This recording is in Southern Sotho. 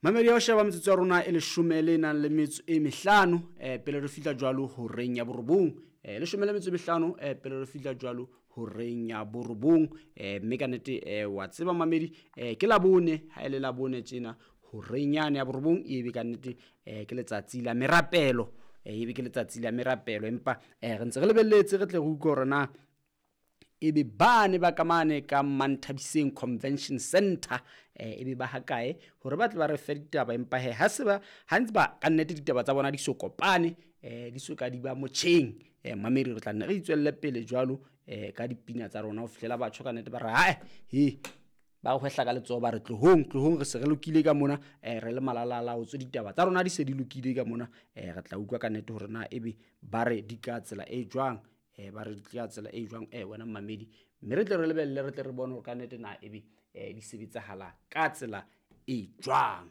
Mamedi ya ho sheba metsotso ya rona e leshome le nang le metso e mehlano pele re fihla jwalo horeng ya borobong, leshome le metso e mehlano pele re fihla jwalo horeng ya borobong. Mme ka nnete wa tseba mamedi, ke Labone, ha e le Labone tjena horeng yane ya borobong ebe ka nnete ke letsatsi la merapelo, ebe ke letsatsi la merapelo. Empa re ntse re lebelletse re tle re utlwe hore na ebe bane ba ka mane ka Manthabiseng Convention Center ebe ba hakae hore ba tle ba re fe ditaba. Empa he ha se ba ha ntse ba ka nnete ditaba tsa bona di so kopane, di so ka di ba motjheng, mamedi re tla nne re itswelle pele jwalo ka dipina tsa rona ho fihlela batho ka nnete ba re hae he ba re hwehla ka letsoho ba re tlohong tlohong re se re lokile ka mona, re le malalala o tswe ditaba tsa rona di se di lokile ka mona. Re tla utlwa ka nnete hore na ebe ba re di ka tsela e jwang, ba re di ka tsela e jwang, wena mamedi, mme re tle re lebelle re tle re bone hore ka nnete na ebe di sebetsahala ka tsela e jwang.